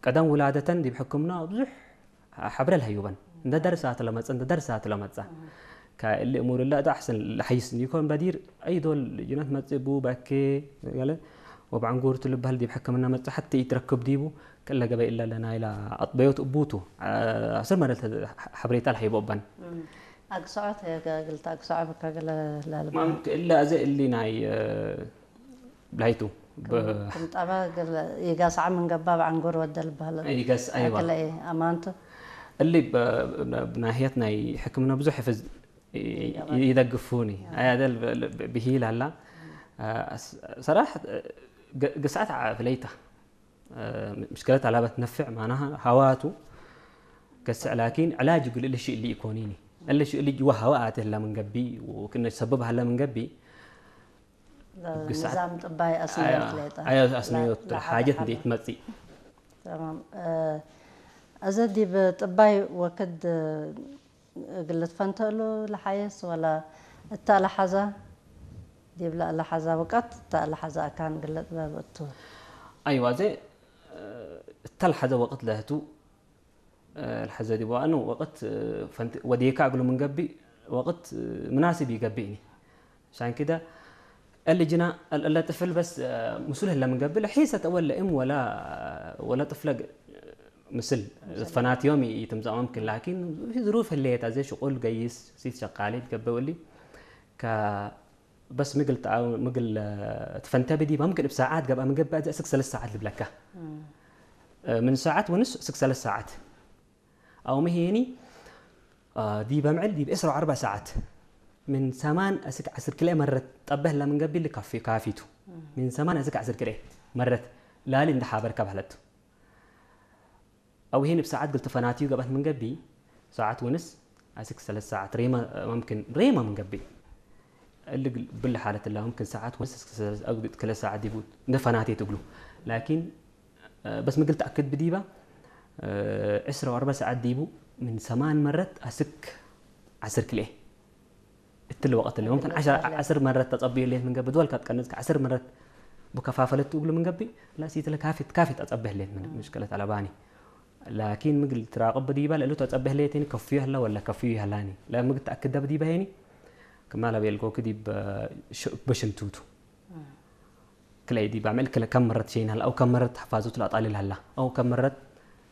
ቀደም ውላደተን ዲብ ሕክምና ብዙሕ ሓብረ ለሀዩበን። እንደ ደርሳ ትለመጸ፣ እንደ ደርሳ ትለመጸ። ከእሊ እሙር ላ ዳ ኣሕሰን ለሐይስ እንዲኮን በዲር፣ ኣይዶል ጅነት መጽእ ቡ በኬ፣ ገለ ወብዓንጉር ትልበሃል ዲብ ሕክምና መጽእ ሓቲ ይትረክብ ዲቡ፣ ከለ ገበ ኢላ ለና ኢላ ኣጥበዮት እቡቱ፣ አ-፣ ኣስር መደል ተ-፣ ሓብሬታ ለሀይቦ እበን። እም። ኣግስዖት፣ የ-፣ ገ-፣ ግልታ ኣግስዖ በካ ገለ ላልባ። ማም-፣ እለ ኣዘ እሊ ናይ፣ እ፣ ብላይቱ፣ ብ-፣ ክም ጠባ ገለ ይጋሳዕ ምን ገባ ብዓንጎር ወደ ልበሃል። ይገስ፣ ኣይዋ። ኣክለ እየ፣ ኣማንቱ። እሊ ብ-፣ ብ-፣ ብናህየት ናይ ሕክምና ብዙሕ ይፍዝ-፣ ይ-፣ ይገባል። ይደግፉኒ። ኣያ ደል ብ-፣ ብ-፣ ብሂል ኣላ። እ፣ ስ-፣ ሰራሕ፣ እ፣ ገ-፣ ግሳዕት ዓ-፣ ፍለይታ። እ፣ ምሽከለት ኣላበት ነፍዕ ማናሃ ሃዋቱ ገስዕ ላኪን ዕላጅ ግል እልሽ እሊ ይኮኒኒ። እልሽ እሊ ጅዋ ሃዋ ኣትህላ ምን ገቢ፣ ወክነ ሰበብ ሃላ ምን ገቢ፣ ግሳዕት ንዛም ጥባይ ኣስነዮት ኣያ፣ ሌጣ። ኣያ ኣስነዮት ላ-፣ ላ-፣ ሓጀት ሓባ። እንዴት መጺ። ተማም። እ፣ እዚ ዲብ ጥባይ ወክድ እግል ትፈንተእሉ ለሓየስ ወላ እታ ለሓዛ ዲብ ለሓዛ ወቀት እታ ለሓዛ ኣካን ግለ ጥበብ እቱ። ኣይዋ፣ ዘ፣ እ፣ እታ ለሓዘ ወቅት ለህቱ፣ እ፣ ለሓዘ ዲብ ዋኑ ወቅት፣ እ፣ ፈንት-፣ ወዴካ እግሉ ምን ገቢ ወቅት፣ እ፣ ምናስብ ይገቢእኒ። ሻን ክደ እልጅና እል-፣ እለ ጥፍል በስ፣ እ፣ ምስሉ ህለ ምን ገቢ ለሒሰት ወለ እም ወላ፣ ወላ ጥፍለ ግ-፣ ምስል ፈናትዮም ይ-፣ ይትምጻእ መምክን፣ ላኪን ዝሩፍ ህለየት ኣዘ ሽቁል ገይስ ሲት ሸቃሊት ገበው እሊ ከ በስ ምግል ተኣ-፣ ምግል፣ እ፣ ትፈንተ ብዲባ ምክን እብ ሰዓት ገብኣ ምገብእ ኣዘ እስክ ሰለስተ ሰዓት ልብለካ። እም። እ፣ ምን ሰዓት ወንስ እስክ ሰለስተ ሰዓት። ኣው መሄኒ፣ እ፣ ዲበ ምዕል ዲብ ዕስራ ወኣርባ ሰዓት ምን ሰማን እስክ ዓስር ክልኤ መረት ጠበህላ ምን ገቢል ካፊ-፣ ካፊቱ። እም። ምን ሰማን እስክ ዓስር ክልኤ መረት ላሊ እንደ ሓበርካ ባህለቱ። ኣው ሄን ብሰዓት ግል ተፈናትዩ ገባት ምን ገቢ፣ ሰዓት ወንስ ኣስክ ሰለስተ ሰዓት ሬማ፣ መምክን ሬማ ምን ገቢ። እሊ ግል-፣ ብል ሓለት ላ መምክን ሰዓት ወንስ እስክ ሰለስ-፣ ኣው ግል ከለ ሰዓት ዲቡ እንደ ፈናቴ ትግሉ። ላኪን፣ እ፣ በስ ምግል ተኣክድ ብዲባ፣ እ፣ ዕስራ ወኣርባ ሰዓት ዲቡ ምን ሰማን መረት ኣስክ ዓስር ክልኤ። እትል ወቀት እለ፣ መምክን ዓሸር፣ ዓሰር መረት ተጸብዩ ሌት ምን ገቢ፣ ድወል ካት ቀንጽ ዓሰር መረት ብከፋፈለት ትብሉ ምን ገቢ፣ ላ ሲትለ ካፊት፣ ካፊት ኣጸብህ ሌት ምን ምሽከለት ኣለባኒ። ላኪን ምግል ትራቅብ ዲባ፣ ለእሉ ተጸብህ ሌት ኒ ከፍዩ ህላ ወላ ከፍዩ ይህላኒ። ላ ምግል ተኣክደ ብዲባ ሄኒ፣ ክማላ ቤልጎ ክዲብ፣ ሽ-፣ በሽንቱቱ። ክለይ ዲባ፣ ምዕል ክለ ከም መረት ሸይን ህላ፣ ኣው ከም መረት ሓፋዙት ላጣሊል ህላ፣ ኣው ከም መረት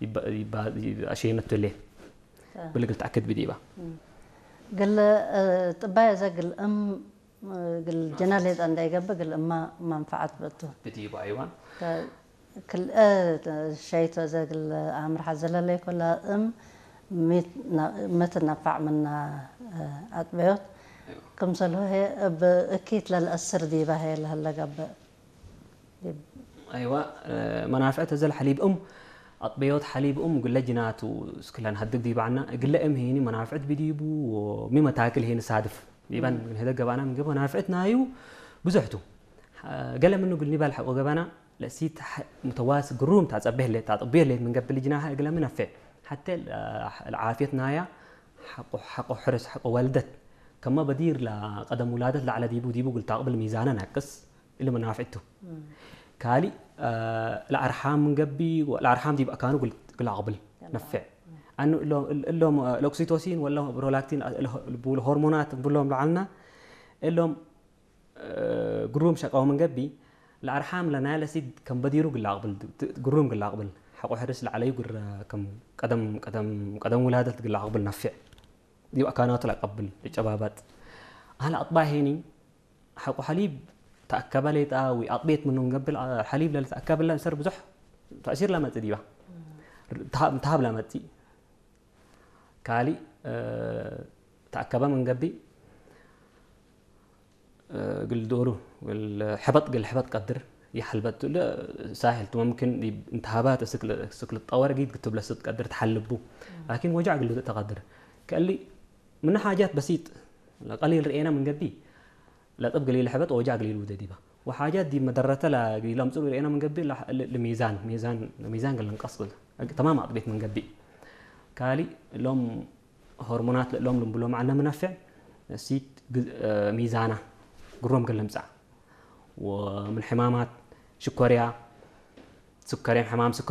ይባ-፣ ይባ-፣ ይባ-፣ ሸይነቱ ሌት። አ። ብልግል ተኣክድ ብዲባ። እም። ግል፣ እ፣ ጥባይ ዘ ግል እም፣ እ፣ ግል ጀና ሌጣ እንዳይገብ ግል እማ መንፈዓት በቱ። ብዲባ፣ ኣይዋ። ከ-፣ ክል፣ እ፣ ሸይቶ ዘ ግል ኣምርሓ ዘለለይ ኮላ እም ሚት ና-፣ ምትነፋዕ ምና፣ እ፣ ኣጥበዮት። ኣይዋ። ክምሰልሆ ሄ እብ እኪት ለልአስር ዲባ ሄ ለህለ ገብእ። ኣይዋ፣ እ፣ መናፍዕት እዘል ሐሊብ እም፣ ኣጥበዮት ሐሊብ እም ግለ ጅናቱ እስክለን ሀድግ ዲባዕና፣ ግለ እም ሄኒ መናፍዕት ቢዲቡ፣ ወሚ መታክል ሄኒ ሳድፍ። ዲባን እም። ግን ህደ ገባና ምግብ መናፍዕት ናዩ ብዙሕቱ። ሐ-፣ ገለ ምኑ ግል ኒባል ሐቆ ገባና፣ ለሲት ሐ-፣ ሙተዋስ ግሩም ታጸብህ ሌት፣ ታጥብዮ ሌት ምን ገብል ጅናሃ እግለ ምነፍዕ። ሐተ ለ-፣ ለዓፍየት ናያ ሐቆ፣ ሐቆ ሕርስ፣ ሐቆ ወልደት። ከማ በዲር ለቀደም ውላደት ለዓለ ዲቡ፣ ዲቡ ግል ታቅብል ሚዛነ ናቅስ። እሊ መናፍዕቱ። እም። ካሊ፣ እ፣ ለኣርሓም ምን ገቢ፣ ለኣርሓም ዲብ ኣካኑ ግል-፣ ግል ኣቕብል ነፍዕ። እም። ኣኑ እሎም፣ እል-፣ እሎም፣ እ፣ ለኦክሲቶሲን ወላ ፕሮላክቲን፣ እ፣ ለ-፣ ብሎ ሆርሞናት ብሎም ለዓልና፣ እሎም፣ እ፣ ግሩም ሸቃው ምን ገቢ፣ ለኣርሓም ለናይ ለሲድ ከም በዲሩ ግል ኣቕብል፣ ት-፣ ግሩም ግል ኣቕብል። ሓቆ ሕርስ ለዓለዩ ግረ ከም ቀደም፣ ቀደም፣ ቀደም ውላደት ግል ኣቕብል ነፍዕ። ዲብ ኣካናቱ ለቀብል፣ ልጨባባጥ። ኣህል ኣጥባ ሄኒ፣ ሐቆ ሐሊብ ተኣከበ ሌጣ ወይ ኣጥቤት ምኑ ንገብል፣ አ-፣ ሐሊብ ለልተኣከበላ እንሰር ብዙሕ ተእሲር ለመጽእ ዲባ። ተሃብ፣ ተሃብ ለመጽእ። ካሊ፣ እ፣ ተኣከበ ምን ገቢ፣ እ፣ ግል ዶሩ፣ ግል ሕበጥ፣ ግል ሕበጥ ቀድር ይሐልበጥ ለ ሳህል ቱ መምክን ዲ-፣ እንተሃባት እስክ ለ-፣ እስክ ልጠወር ጊድ ክትብለ ስትቀድር ተሐልቡ። ላኪን ወጃዕ ግል ተቀድር። ከሊ ምን ሓጃት በሲጥ፣ ቀሊል ርኤና ምን ገቢ፣ ለጥብ ገሊል ሕበጥ ወጃ ገሊል ውደ ዲባ። ወሓጃት ዲብ መደረተ ለገሊል ኣምጽኡ ርኤና ምን ገቢ፣ ለ-፣ ለ-፣ ለሚዛን፣ ሚዛን፣ ሚዛን ገለን ቀስብል። ተማም ኣጥቤት ምን ገቢ። ካሊ ሎም ሆርሞናት ለሎም ልምብሎም ዓነ ምነፍዕ፣ ሲት ግ-፣ ሚዛና ግሮም ገለምጻ። ወምን ሕማማት ሽኮርያ፣ ስከርያ፣ ሕማም ስከር